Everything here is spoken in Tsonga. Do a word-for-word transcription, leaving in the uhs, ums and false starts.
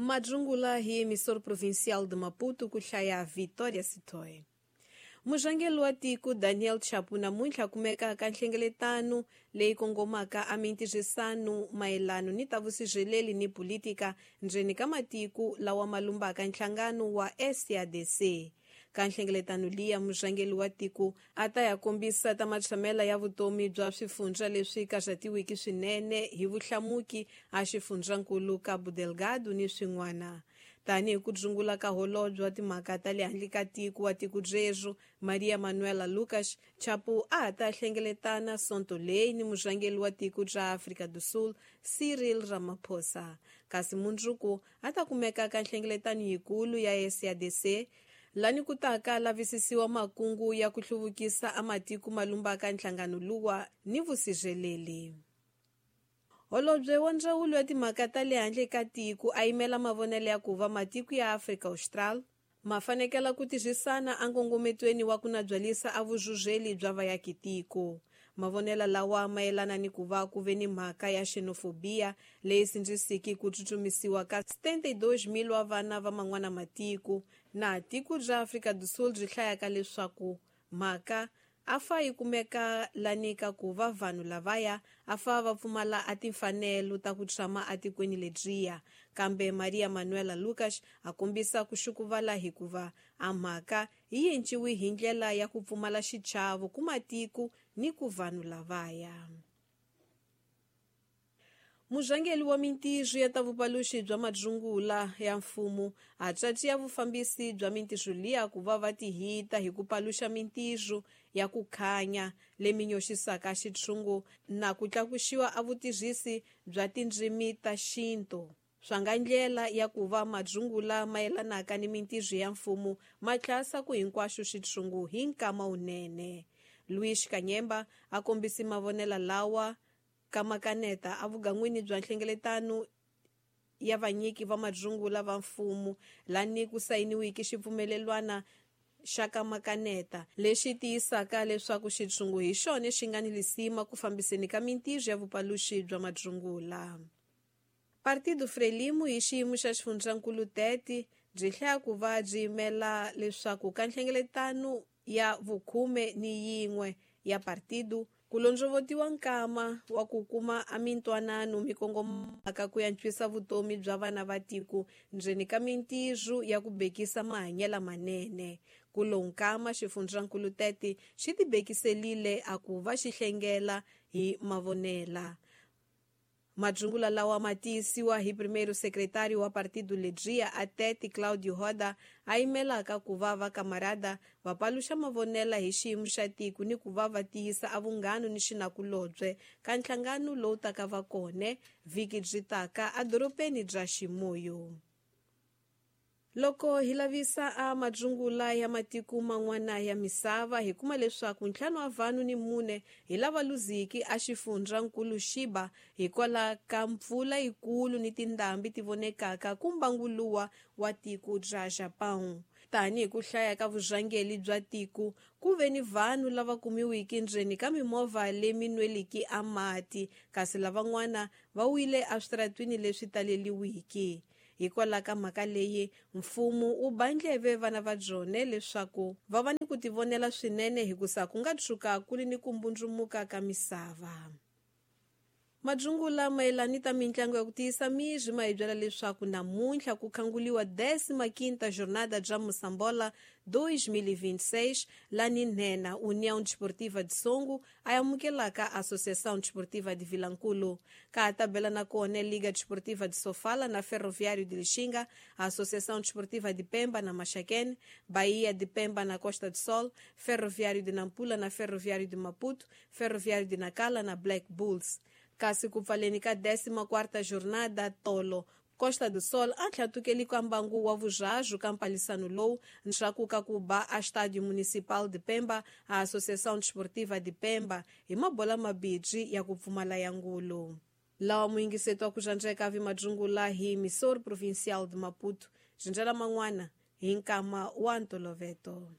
Madzungula hi emissor provincial de Maputo ku hlaya Vitória Sitoe. Murhangeri wa tiko Daniel Chapo namuntlha kumeka ka nhlengeletano leyi kongomaka a mintirhisano mayelano ni ta vusirheleli ni politika ndzeni ka matiko lawa ma lumbaka nhlangano wa S A D C. Ka nhlengeletano liya murhangeri wa tiko a ta ya kombisa ta matshamela ya vutomi bya swifundza leswi karhatiwiki swinene hi vuhlamuki a xifundzankulu Cabo Delgado ni swin'wana. Tanihi ku dzungula ka holobye wa timhaka ta le handle ka tiko wa tiko rero Maria Manuela Lucas, Chapo a ha ta hlengeletana sonto leyi ni murhangeri wa tiko ra Afrika do Sul Cyril Ramaphosa. Kasi mundzuku a ta kumeka ka nhlengeletano yikulu ya S A D C lani ku taka lavisisiwa makungu ya ku hluvukisa a matiko ma lumbaka nhlangano luwa ni vusirheleli. Holobye wa ndzawulo ya timhaka ta le handle ka tiko a yimela mavonelo ya ku va matiko ya Afrika Austral ma fanekela ku tirhisana enkongometweni wa ku nabyalisa a vuzhuzheli bya vayakitiko. Mavonelo lawa mayelana ni ku va ku ve ni mhaka ya xenofobia leyi sindzisiki ku tsutsumisiwa ka setenta e dois mil wa vana va man'wana matiko na tiko ra Afrika do Sul byi hlayaka leswaku mhaka a fa yi kumeka lani ka ku va vanhu lavaya a fa va pfumala a timfanelo ta ku tshama atikweni ledyiya. Kambe Maria Manuela Lucas a kombisa ku xukuvala hikuva a mhaka yi enciwi hi ndlela ya ku pfumala xichavo ku matiko ni ku vanhu lavaya. Murhangeri wa mintirho ya ta vupaluxi bya madzungula ya mfumo a tsatsi ya vufambisi bya mintirho liya ku va va tihita hi ku paluxa mintirho ya ku khanya lemi nyoxisaka xitshungu na ku tlakuxiwa a vutirhisi bya tindzimi ta xintu. Swa nga ndlela ya ku va madzungula mayelanaka ni mintirho ya mfumo ma tlasa ku hinkwaxo xitshungu hi nkama wunene. Luis Kanyemba a kombisi mavonelo lawa kamakaneta a vugan'wini bya nhlengeletano ya vanyiki va madzungula va mfumo lani ku sayiniwiki xipfumelelwana xa kamakaneta lexi tiyisaka leswaku xitshungu hi xona xi nga ni lisima ku fambiseni ka mintirho ya vupaluxi bya madzungula. Partido Frelimo hi xiyimo xa xifundzankulu Tete byi hlaya ku va byi yimela leswaku ka nhlengeletano ya vukhume ni yin'we ya partido ku londzovotiwa nkama wa ku kuma a mintwanano mikongomaka ku antswisa vutomi bya vana va tiko ndzeni ka mintirho ya ku bekisa mahanyelo manene. Ku lo nkama xifundzankulu Tete xi tibekiselile a ku va xi hlengela hi mavonela. Madzungula lawa ma tiyisiwa hi primeiro secretário wa partido ledria a Tete Claudio Roda a yimelaka ku va va kamarada va paluxa mavonela hi xiyimo xa tiko ni ku va va tiyisa a vunghano ni xinakulobye ka nhlangano lowu taka va kone vhiki byi taka edorobeni bya Ximuyo. Loko hi lavisa a madzungula ya matiko man'wana ya misava hi kuma leswaku ntlhanu wa vanhu ni mune hi lava luziki a xifundzankulu Xiba hikwalaho ka mpfula yikulu ni tindhambi ti vonekaka ku mbanguluwa wa tiko ra Japão. Tanihi ku hlaya ka vurhangeri bya tiko ku ve ni vanhu lava kumiwiki ndzeni ka mimovha lemi nweliki a mati kasi lavan'wana va wile eswitaratwini leswi taleliwiki. Hikwalaho ka mhaka leyi mfumo wu ba ndleve vana va byona leswaku va va ni ku tivonela swinene hikusa ku nga tshuka ku ri ni ku mbundzumuka ka misava. Madzungula mayelana ta mintlangu ya ku tiyisa miri ma hi byela leswaku namuntlha ku khanguliwa décima quinta jornada bya Moçambola dois mil e vinte e seis lani nhenha União Desportiva de Songo a amukelaka Associação Desportiva de Vilankulo. Ka tabela na kona Liga Desportiva de Sofala na Ferroviário de Lixinga, a Associação Desportiva de Pemba na Maxaquene, Bahia de Pemba na Costa do Sol, Ferroviário de Nampula na Ferroviário de Maputo, Ferroviário de Nacala na Black Bulls. Kasi ku pfaleni ka décima quarta jornada tolo Costa do Sol a tlhatukeli ka mbangu wa vuzhazhu ka mpalisano lowu nxaku ka ku ba a Estádio Municipal de Pemba a Associação Desportiva de Pemba hi mabola mabidzi ya ku pfumala ya ngulu. Lawa muyingiseto wa ku xandzeka vi madzungula hi emissor provincial de Maputo xindzela man'wana hi nkama wa ntoloveto.